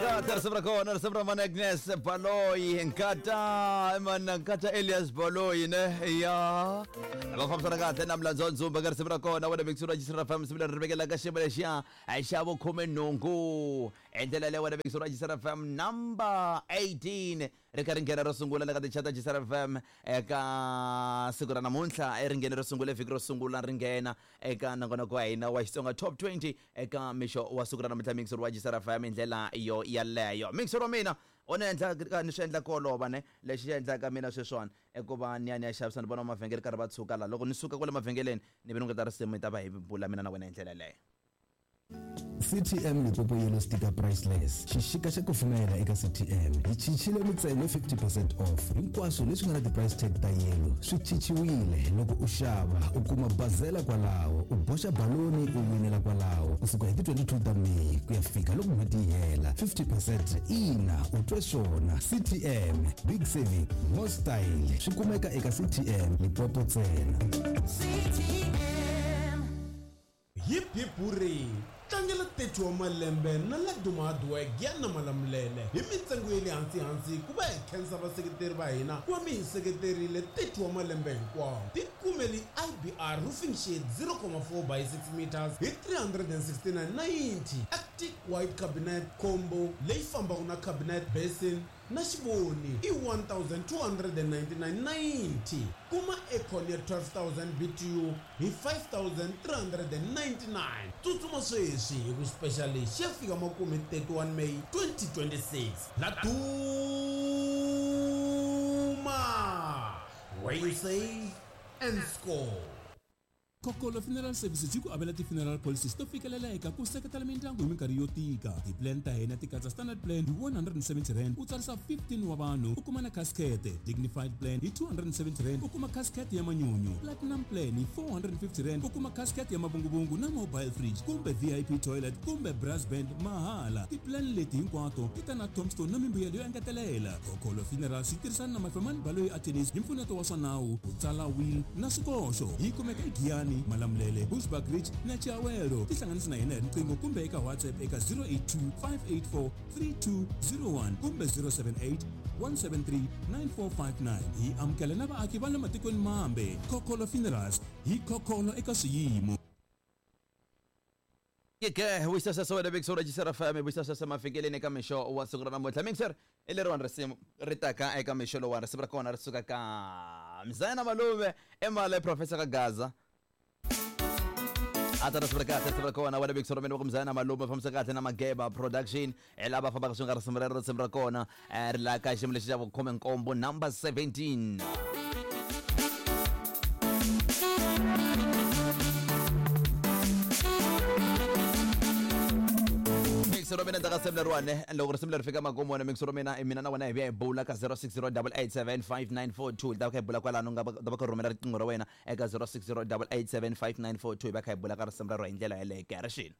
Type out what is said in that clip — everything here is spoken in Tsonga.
Kahle risimu ra kona, risimu ra mana Agnes Baloyi, nkata mana nkata Elias Baloyi ne ya va fambisana kahle na Mlandzo wa Ndzumba ka risimu ra kona wena mixo ra Jisra FM. Risimu leri ri vekela ka xiyimo lexiya xa vukhumenhungu hi ndlela leyi wena mixo ra Jisra FM number 18 ri kha ri nghena ro sungula le ka tichata Jisra FM eka siku ra namuntlha. Ri nghene ro sungula vhiki ro sungula ri nghena eka nongonoko wa hina wa Xitsonga Top 20 eka mixo wa siku ra namuntlha, mixo wa Jisra FM hi ndlela yo yaleyo. Mixo wa mina u ni endla ni swi endla ku olova ne lexi xi endlaka mina sweswiwani i ku va ni ya ni ya xavisa, ni vona mavhengele karhi va tshuka la. Loko ni suka kwale mavhengeleni ni vi ni ta risimu hi ta va hi bula mina na wena hi ndlela yeleyo. CTM Limpopo Yellow Sticker Priceless. Xixika xa kufumela eka CTM. Hi chichile mintsengo 50% off. Hinkwaswo leswi nga na ti-price tag ta yellow swi chichiwile. Loko u xava, u kuma bazela kwalaho, u boxa baloni u winela kwalaho. Kusuka hi ti 22 ta May ku ya fika loko n'hweti yi hela. 50% ina, u twe swona. CTM, big saving, more style. Swi kumeka eka CTM Limpopo ntsena. CTM. Hip hip hurray! Tlangela 30 wa malembe na Laduma Hardware Giyani Malamulele hi mintsengo ya le hansi hansi ku va hi khensa vaseketeri va hina ku va mi hi seketerile 30 wa malembe hinkwawo. Tikumeli IBR Roofing Sheet 0,4 by 6 meters hi 369.90, Arctic White Cabinet Combo leyi fambaka na cabinet basin na xivoni i 1299.90. Kuma aircon ya 12000 BTU hi 5399. Tsutsuma sweswi hi ku special lexi xi ya fika makumu hi 31 May 2026. La Duma! Where you save and score. Kokolo Funeral Services yi ku avela ti-funeral policies to fikeleleka ku seketela mindyangu hi minkarhi yo tika. Ti-plan ta hina ti katsa standard plan hi R170 u tsarisa 15 wa vanhu u kuma na casket, dignified plan hi R270 u kuma casket ya manyunyu, platinum plan hi R450 u kuma casket ya mavunguvungu na mobile fridge kumbe VIP toilet kumbe brass band mahala. Ti-plan leti hinkwato ti ta na tombstone na mimbuyelo yo engetelela. Kokolo Funerals yi tirhisana na Mafemani Baloyi Attorneys hi mpfuneto wa swa nawu ku tsala will na swikoxo. Yi kumeka eGiyani, Malamulele, Bushbuckridge na Chiawelo. Tihlanganisi na hina hi riqingho kumbe eka WhatsApp eka 082 584 3201 kumbe 078 173 9459. Hi amukela na vaaki va le matikweni mambe. Kokolo Funerals, hi khokholo eka swiyimo. Ke wisasasa wena Big Soul Jisara FM wisasasa mafikeleni eka mixo wa siku ra namuntlha. Mixer i leriwani risimu ri taka eka mixo lowani, risimu ra kona ri suka ka Mzayana Malume emale Professor ka Gaza. A ta risimu ra kahle, risimu ra kona wena Big Soul mina ku Mzayana Malume fambisa kahle na Mageba Production hi lava fambaka swi nga risimu rero. Risimu ra kona ri la ka xiyimo lexi xa vukhume nkombo, number 17. Mixer wa mina ndzaka risimu leriwani, loko risimu leri fika makumu wena mixer wa mina, mina na wena hi vuya hi bula ka 0608875942. Hi ta va kha hi bula kwalano, nga ta va kha rhumela riqingho ra wena eka 0608875942, hi va kha hi bula ka risimu rero hi ndlela yeleyo. Kerexini.